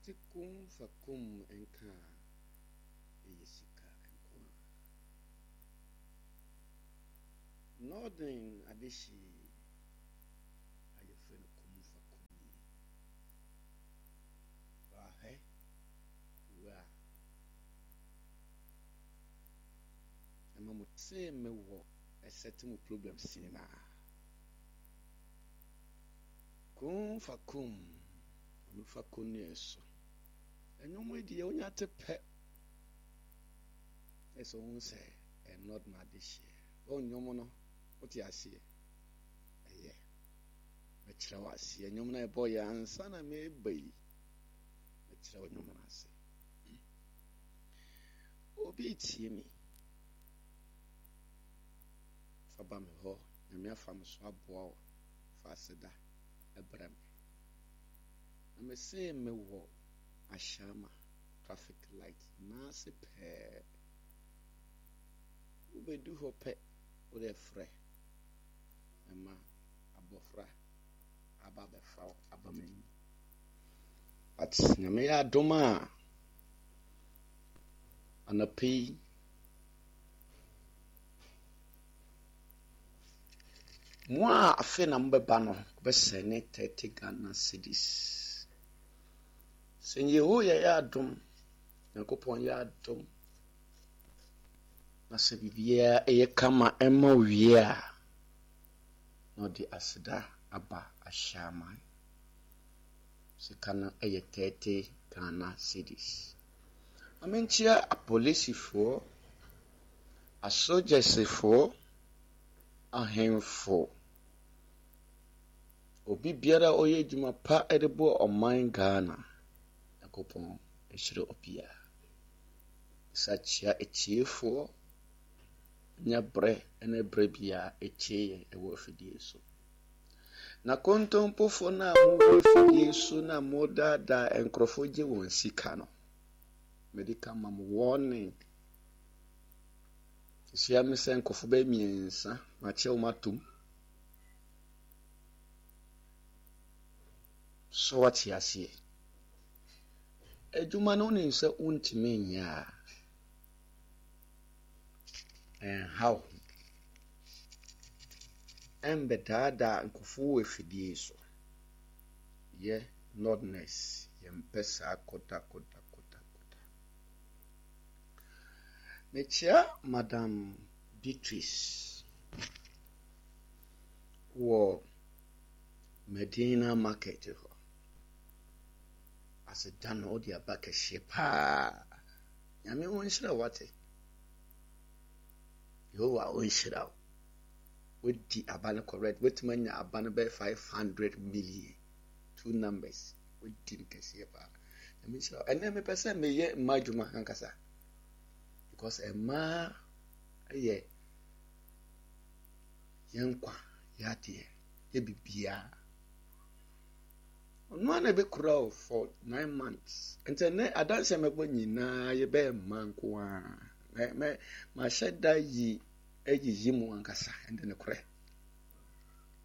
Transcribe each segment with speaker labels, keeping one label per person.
Speaker 1: Wote kum fa kum nka a, ɛyɛ sika nko ara. Northern adehye a yɛfrɛ no kum fa kum yi. Wahwɛ wura ɛma mo tee me wɔ ɛsɛte mo problems nyinaa. Kun fa kum, ɔno fa kɔnnua so. Ɛnwom yi deɛ wonya te pɛ. Ɛsɛ wohu sɛ ɛnɔ na adehyeɛ. Wɔn nnwom no, wote aseɛ. Ɛyɛ. Mɛkyerɛ wo aseɛ. Nnwom no ɛbɔ yɛ ansa na meba yi. Mɛkyerɛ wo nnwom no ase. Obi tie me. Fa ba me hɔ. Nyame afa me so aboa wo. Fa aseda brɛ me. Na mese mewɔ Ashama traffic light n'ase pɛɛ. Wobɛdu hɔ pɛ, wode frɛ mɛma abɔfra aba abɛfa wo aba m'anim. But Nyame yɛ adom a, anɔpa yi, Mo a afei na mobɛba no, wobɛsɛne 30 Ghana cedis. Sɛ Yehowa yɛ adom, Nyankopɔn yɛ adom, na sɛ biribiara ɛyɛ kama ɛma wie a, na ɔde aseda aba ahyɛ aman. Sika no ɛyɛ 30 Ghana cedis. Ma menkyia apolisifoɔ, asogyɛsefoɔ, ahemfo, obi biara a ɔyɛ adwuma pa de boa ɔman Ghana. Nyankopɔn nhyira obiara. Sa kyia atiefoɔ nya berɛ ne berɛ biara ɛtie yɛn wɔ afidie so. Na kontompofoɔ no a mowɔ afidie so na modaadaa nkurɔfoɔ gye wɔn sika no, mede ka ma mo warning. Hyia me sɛ nkurɔfoɔ bɛyɛ mmiɛnsa makyɛ wɔn atom. So wate aseɛ? Adwuma no wonim sɛ wontumi nyɛ a, ɛnha wo ho. Ɛmbɛdaadaa nkurɔfoɔ wɔ afidie so. Yɛ Nordness, yɛmpɛ saa kodakodakodakoda. Mekyia Madam Beatrice wɔ Medina market hɔ. Aseda no wode aba kɛseɛ paa. Nyame ɔnhyira wo wate. Yehowa ɔnhyira wo. Wadi aba no correct. Wotumi anya aba no bɛyɛ 500 million. Two numbers. Wadi no kɛseɛ paa. Nyame nhyira wo. Ɛnɛ mepɛ sɛ meyɛ mma adwuma ankasa. Because mmaa yɛ yɛn nkwa, yɛ adeɛ, yɛ biribiara. Ɔno ara na ɛbɛkura wo for 9 months. Nti ɛnɛ adanseɛ mɛbɔ nyinaa yɛbɛyɛ mmaa nko ara. Mɛ mɛ mahyɛ da yi ayiyi mu ankasa ɛnde nokorɛ.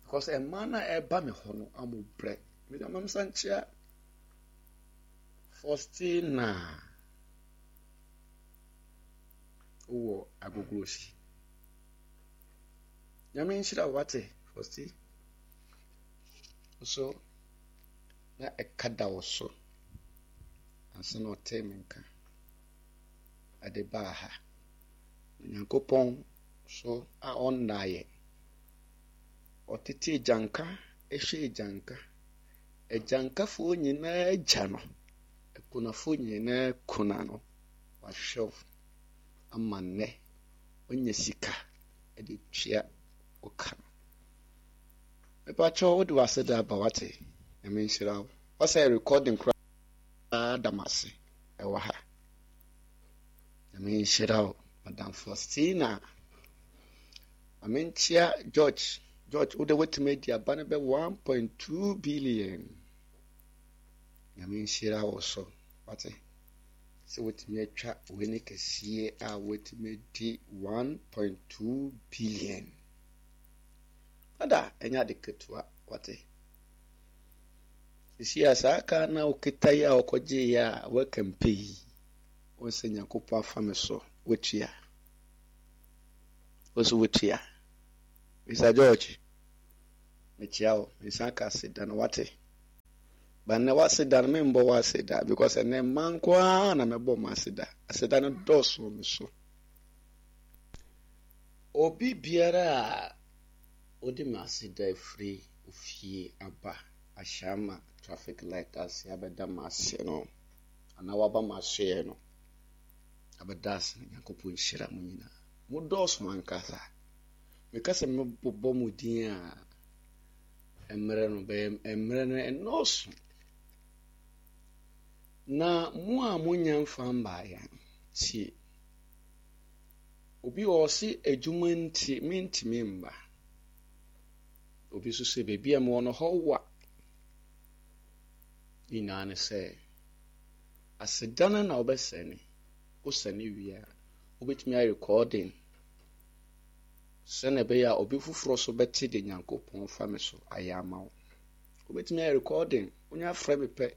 Speaker 1: Because mmaa no a ɛba me hɔ no ɔmo brɛ. Mede ama me nsa nkyea Faustina wowɔ Agogorosi. Nyame nhyira wo wate Fausti. Nso na ɛka da wo so ansa na ɔtee me nka ɛde baa ha. Na Nyankopɔn so a ɔnnaeɛ. Ɔtete agyanka, ɛhwɛ agyanka. Agyankafoɔ nyinaa agya no, akunafoɔ nyinaa kuna no. Wahwɛ wo ama nnɛ woanya sika de tua wo ka no. Mepakyɛw wode w'aseda aba wate. Nyame nhyira wo. Wasɛ recording koraa da m'ase ɛwɔ ha. Nyame nhyira wo Madam Faustina. Ma menkyia George. George wode watumi adi aba no bɛ 1.2 billion. Nyame nhyira wo so. Wate? Sɛ watumi atwa w'ani kɛseɛ a watumi adi 1.2 billion. Ada ɛnyɛ ade ketewa wate. Sisi a saa kaa na wokita yi a wokɔgyeeɛ a woakampe yi, wo sɛ Nyankopɔn afa me so woatua. Wo so woatua. Mr. George, mekyia wo, mesan ka aseda no wate. Ba nnɛ w'aseda no membɔ w'aseda because ɛnnɛ mma nko ara na mɛbɔ mo aseda. Aseda no dɔɔso wɔ me so. Obi biara a ɔde me aseda afiri ofie aba Ahyɛama traffic light ase abɛda m'ase no anaa waba m'asoɛɛ no abɛda ase no Nyankopɔn nhyira mo nyinaa. Mo dɔɔso ankasa. Meka sɛ mebobɔ mo din a mmerɛ no bɛyɛ mmerɛ no ɛnɔɔso. Na mo a monya mfa mbaeɛ no, tie. Obi wɔ hɔ ɔse adwuma nti mentumi mma. Obi nso sɛ baabi a mewɔ no hɔ wa. Ne nyinaa ne sɛ aseda no na wobɛsɛne. Wosɛne wie a, wobɛtumi ayɛ recording sɛnea ɛbɛyɛ a obi foforɔ nso bɛte deɛ Nyankopɔn fa me so ayɛ ama wo. Wobɛtumi ayɛ recording, wonya frɛ me pɛ,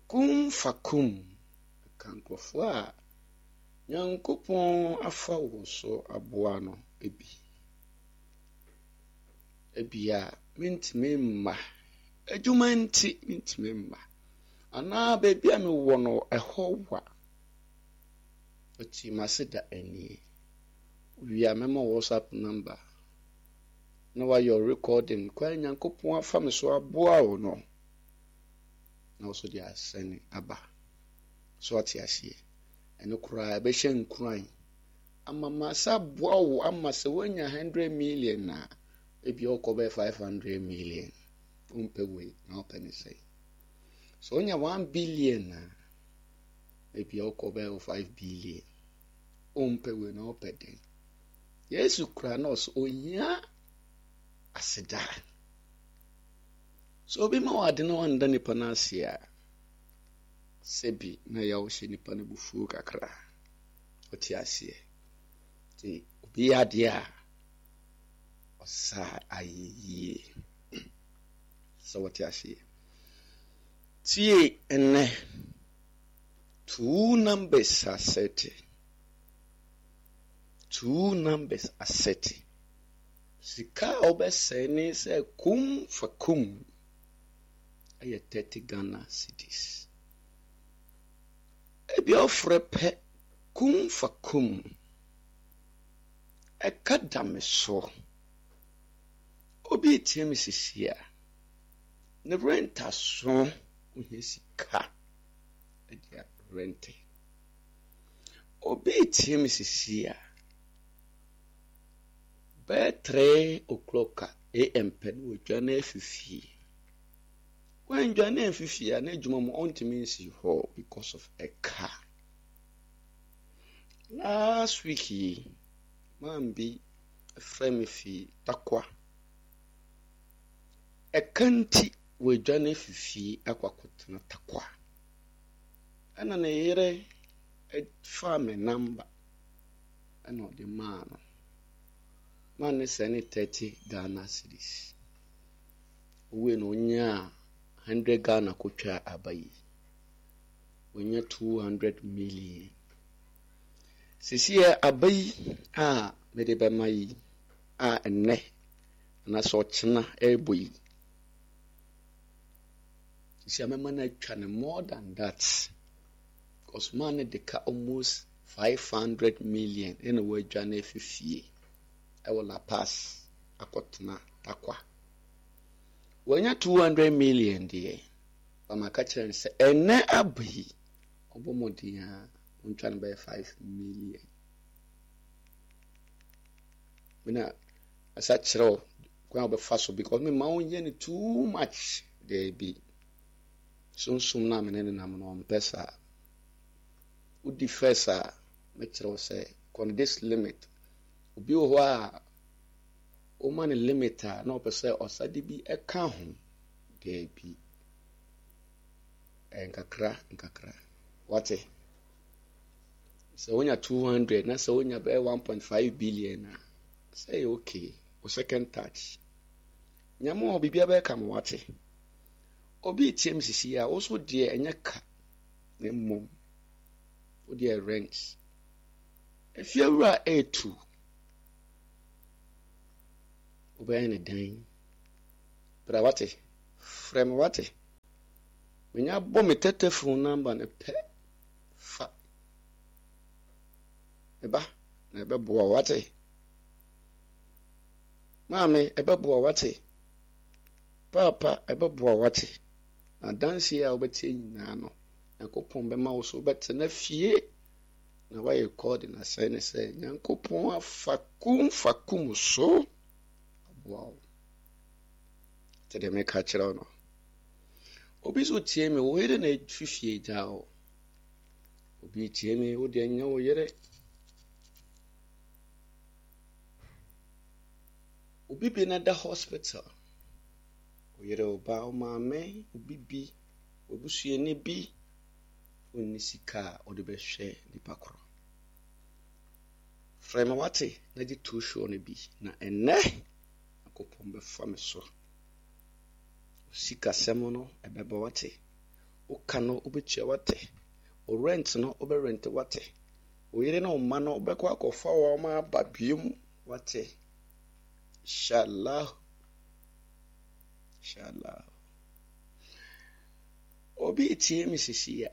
Speaker 1: kum fa kum, ka nkurɔfoɔ a Nyankopɔn afa wo so aboa no bi. Ebia mentumi mma, adwuma nti mentumi mma, anaa baabi a mewɔ no ɛhɔ wa. Ɔte m'ase da anie. Wowie a mɛma wo WhatsApp number na wayɛ recording kwan Nyankopɔn afa me so aboa wo no na wo so de asɛne aba. So ate aseɛ? Ɛno koraa ɛbɛhyɛ nkuran ama masa aboa wo ama sɛ woanya 100 million a ebi ɔkɔ bɛyɛ 500 million. Wompɛ wei na wopɛ ne sɛn? Sɛ wonya 1 billion a ebi ɔkɔ bɛyɛ 5 billion. Wompɛ wei na wopɛ dɛn? Yesu kura na ɔsɛ ohia aseda. Sɛ obi ma wo ade na wanda nipa no ase a, sɛbi na ɛyɛ wohyɛ nipa no bufuo kakra. Wote aseɛ? Nti obi yɛ adeɛ a, ɔsa ayɛ yie. Sɛ wɔte aseɛ. Tie ɛnnɛ. Two numbers asɛte. Two numbers asɛte. Sika a wobɛsɛe ne sɛ kum fa kum ɛyɛ 30 Ghana cedis. Ebi ɔfrɛ pɛ kum fa kum. Ɛka da me so. Obi retie me sisi a, ne rent aso, ohia sika de arente. Obi retie me sisi a, bɛyɛ 3 o'clock a am pɛ na wadwane afi fie. Wandwane amfi fie a, n'adwuma mu ɔntumi nsi hɔ because of ɛka. Last week yi, man bi frɛ me fi Tarkwa. Ɛka nti wadwane afi fie akɔ akɔtena Tarkwa. Ɛna ne yere faa me namba ɛna ɔde maa no. Maa ne sɛne 30 Ghana cedis. Owie no onyaa 100 Ghana kotwaa aba yi. Wanya 200 million. Sisi yɛ aba yi a mede bɛma yi a ɛnnɛ anaasɛ ɔkyena ɛrebɔ yi. Sisi a mɛma no atwa no more than that. Because man no de ka almost 500 million ɛna wadwane afi fie ɛwɔ La Paz akɔtena Tarkwa. Wanya 200 million deɛ, ba maka kyerɛ no sɛ ɛnɛ aba yi ɔbɔ mmɔden a ɔntwa no bɛyɛ 5 million. Mena asa kyerɛ wo kwan a wɔbɛfa so because me ma wonyɛ no too much daabi. Sunsum no a me ne no nam no ɔmpɛ saa. Wodi first a mɛkyerɛ wo sɛ kɔ no this limit. Obi wɔ hɔ a woma no limit a na ɔpɛ sɛ ɔsa de bi ɛka ho daabi. Ɛyɛ nkakra nkakra. Wate? Sɛ wonya 200 na sɛ wonya bɛyɛ 1.5 billion a sɛ ɛyɛ okay. Wo second touch. Nyame wɔ hɔ biribiara bɛyɛ kama wate. Obi retie me sisi a, wo so deɛ ɛnyɛ ka na mmom wo deɛ rent. Efiewura etu. Wobɛyɛ ne dɛn? Bra wate, frɛ me wate. Menya bɔ me tɛtɛfon namba no pɛ, fa. Me ba, na ɛbɛboa wo wate. Maame, ɛbɛboa wo wate. Paapa, ɛbɛboa wo wate. Na adanseɛ a wobɛteɛ nyinaa no, Nyankopɔn bɛma wo so wobɛtena fie na woayɛ recording asɛe ne sɛ Nyankopɔn afa kum fa kum so aboa wo. Te deɛ meka kyerɛ wo no. Obi so tie me, wo yere na efi fie gyaa wo. Obi tie me, wo deɛ nyɛ wo yere. Obi bi na da hospital. Wo yere, wo ba, wo maame, obi bi, w'abusuani bi, onni sika a ɔde bɛhwɛ nipa korɔ. Frɛ me wate na gye too show no bi na ɛnnɛ Nyankopɔn bɛfa me so. Wo sikasɛm no ɛbɛba wate. Wo ka no wobɛtua wate. Wo rent no wobɛrente wate. Wo yere ne wo mma no wobɛkɔ akɔfa wɔn aba biom wate. Inshallah. Inshallah. Obi retie me sisi a,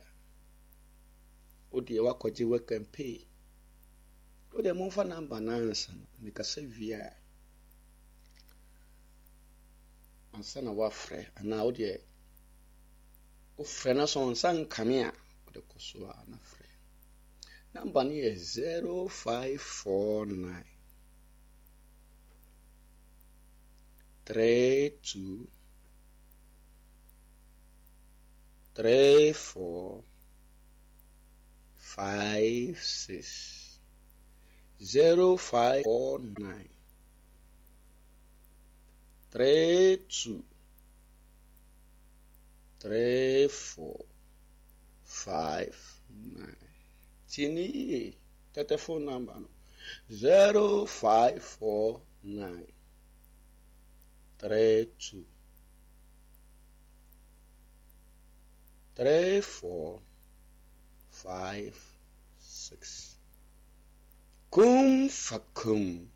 Speaker 1: wo deɛ woakɔgye work and pay. Wo deɛ momfa namba no ansa na mekasa wie a, ansa na woafrɛ anaa wo deɛ wofrɛ na sɛ ɔnsa nkame a, wode kɔ so a na frɛ. Namba no yɛ 0549 32 3 4 5 6 0 5 4 9 3 2 3 4 5 9 Tie ne yie, tɛtɛfon namba no 0 5 4 9 3 2 3 4 5 6 Kum fa kum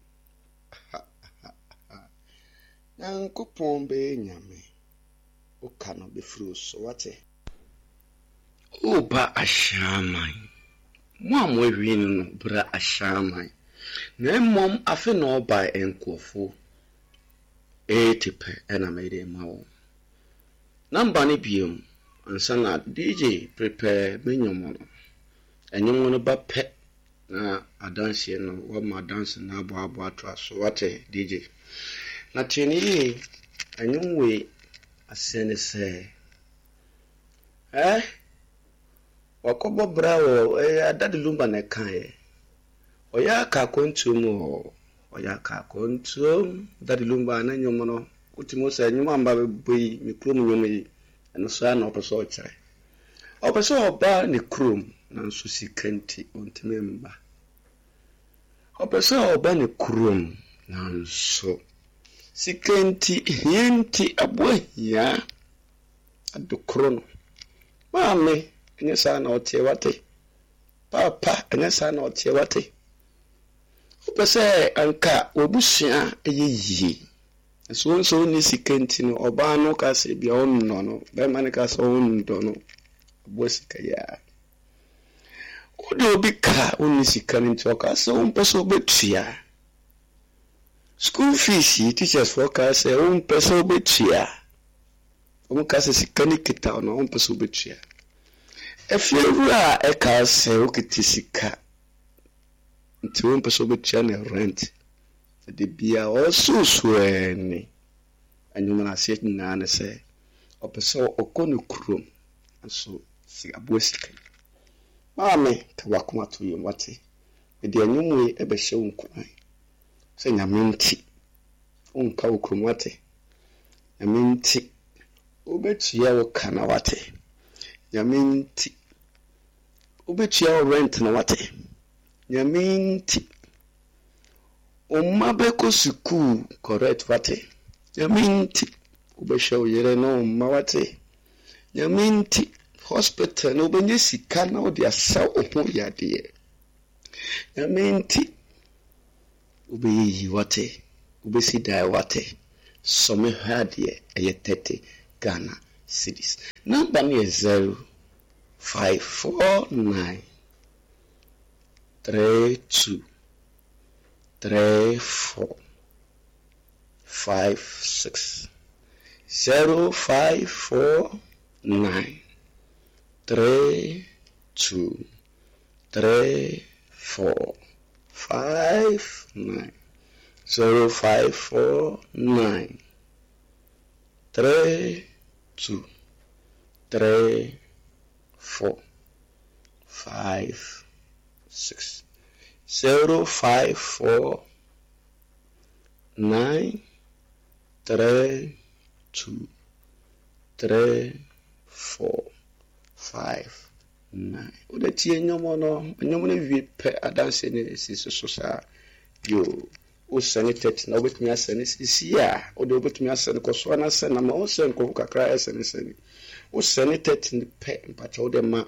Speaker 1: Nyankopɔn bɛyɛ Nyame Wo ka no bɛfiri wo so wate. O ba Ahyɛaman, mo a moawie no no bra Ahyɛaman Na mmom afe na ɔbae nkurɔfo 80 pɛ na mede rema wɔn. Number no biom ansa na DJ prepare me nnwom no. Nnwom no ba pɛ na adanseɛ no wama adanse no aboaboa atoa so wate DJ. Na tie no yie nnwom wei aseɛ ne sɛ eh wakɔbɔ bra wɔ ɛyɛ Daddy Lumba na ɛkaeɛ. Ɔyɛ aka akwantuo mu o, ɔyɛ aka akwantuo mu. Daddy Lumba ne nnwom no, wotumi hu sɛ nnwom a mba bɛbɔ yi, me kurom nnwom yi, ɛno so ara na ɔpɛ sɛ ɔkyerɛ. Ɔpɛ sɛ ɔba ne kurom, nanso sika nti ɔntumi mma. Ɔpɛ sɛ ɔba ne kurom, nanso sika nti, hia nti, aboa hia adekoro no. Maame, ɛnyɛ saa na ɔteɛ wate. Paapa, ɛnyɛ saa na ɔteɛ, wate? Wopɛ sɛ anka w'abusua yɛ yie, nso wo nso wonni sika nti no, ɔbaa no ka sɛ bia ɔnnɔ no, bɛrima no ka sɛ ɔnnɔ no, aboa sika yi a. Wode obi ka wonni sika no nti, ɔka sɛ wompɛ sɛ wobɛtua. School fees yi, teachers foɔ ka sɛ wompɛ sɛ wobɛtua. Wɔka sɛ sika no kita wo na wompɛ sɛ wobɛtua. Afiewura a ɛka sɛ wokita sika nti wompɛ sɛ wobɛtua ne rent. Na da biara ɔresoso ani. Ɛnwom no aseɛ nyinaa ne sɛ ɔpɛ sɛ ɔkɔ ne kurom nso si aboa sika yi. Maame ka w'akoma to yam wate. Mede ɛnwom wei ɛbɛhyɛ wo nkuran sɛ Nyame nti wonka wo kurom wate. Nyame nti wobɛtua wo ka na wate. Nyame nti wobɛtua wo rent na wate. Nyame nti wo mma bɛkɔ sukuu correct wate. Nyame nti wobɛhwɛ wo yere ne wo mma wate. Nyame nti, hospital no wobɛnya sika na wode asa wo ho yadeɛ. Nyame nti, wobɛyɛ yie wate, wobɛsi dan wate. Sɔ me hwɛ adeɛ, ɛyɛ 30 Ghana cedis. Number no yɛ 0549 32 34 5 6 0 5 4 9 3 2 3 4 5 9 0 5 4 9 3 2 3 4 5 6 0 5 4 9 3 2 3 4 5 9. Wode tie nnwom no, nnwom no wie pɛ adanse no si so so saa. Yo, wosɛne tɛt na wobɛtumi asɛne sisi a, wode wobɛtumi asɛne kɔ so ana sɛne ama wo sɛ nkurɔfo kakra ɛsɛne sɛne. Wosɛne tɛt no pɛ mpakyɛ wode ma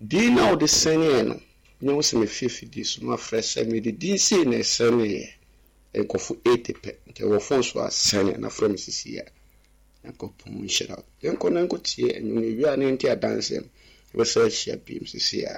Speaker 1: din na wode sɛneɛ no, nyɛ wo sɛ mefie fidie so na wafrɛ sɛ mede din sei na ɛsɛneeɛ. Nkurɔfo 80 pɛ, nti ɛwɔ phone so a sɛne na frɛ me sisi a. Nyankopɔn nhyira wo. Yɛnkɔ na nkɔtie nnwom no, yɛwie a na yɛnte adanseɛ no. Yɛbɛsan ahyia bio sisi a.